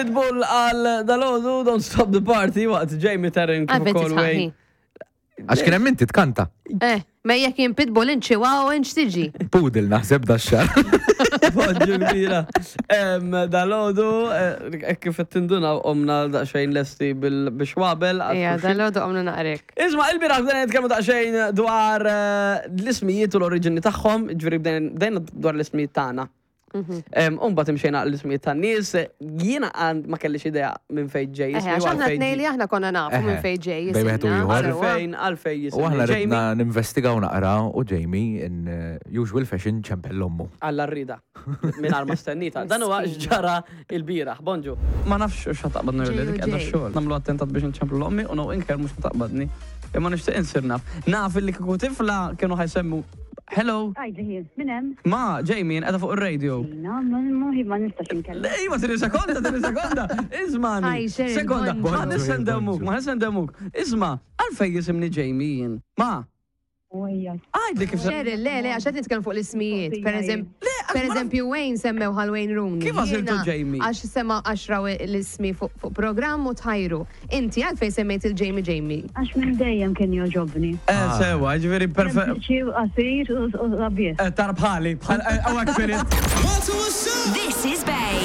Pitbull għal dalodu Don't Stop the Party waqt Jamie Terrin kif Għalfejn ukoll tisħaqni. Wayne. Għax kien hemm inti tkanta. Eh, ma jekk jien pitbull inċi wow inċ tiġi. Poodle naħseb da xar. Poġġu kbira. Em, Dalodu, eh, kif qed tinduna omna daqsxejn lesti bil-xwabel. għal Ija, xulxin. dalodu għamlu naqrek. Isma, il-biraħ bdejna nitkellmu daqsxejn dwar eh, l-ismijiet u l-oriġini tagħhom, ġifieri bdejna bdejna dwar l-ismijiet tagħna. Umbat imxejna l-ismijiet tan-nies, jiena għand ma kellix idea minn fejn ġej. Eh, ismi u għax aħna għalfejn tnej li ġej. aħna konna nafu minn Eħe, fejn ġej. bejn wieħed u jisimna, ieħor. sewwa. Għalfejn, għalfejn U jisimni aħna Jamie. ridna ninvestigaw naqra u Jamie in eh, usual fashion ċempel ommu. Alla rrida. Minn ma stennita. Dan huwa Miskina. x'ġara il-bieraħ. Bonġu. Ma nafx x'ħataqbadni Ġej li u dik qiegħda ġej. xogħol. Nagħmlu attentat biex nċemplu l-ommi u no inker mhux ħataqbadni. Imma nixtieq insir naf. Naf illi kieku tifla kienu ħajsemmu Hello, Għajdi ħin, minn hemm? ma Jamie qiegħda fuq ir-radio. Na, ma ma nistax inkellem. Le, ma tini sekonda, tini sekonda. Ismani. Hi, Sheryl, Sekonda, bonġu. ma nissendemuk, ma nissendemuk. Isma, għalfej jisimni Jamie jien. Ma, Ujja. għajdli kif se. Cheryl, le, le, għax qed nitkellem fuq l-ismijiet. Per eżempju, Le, għax per ma naf- eżempju, Wayne semmew għal Wayne Rooney. Kif għażiltu Jiena Jamie? Għax sema għax raw l-ismi fuq fuq programm u tħajru. Inti għalfej semmejt il-Jamie Jamie. Għax minn dejjem kien joġobni. Eh, sewa, ġifieri perfett. Sempliċi u qasir u sabiħ. Tara bħali, bħal, għawak firit. This is Bay.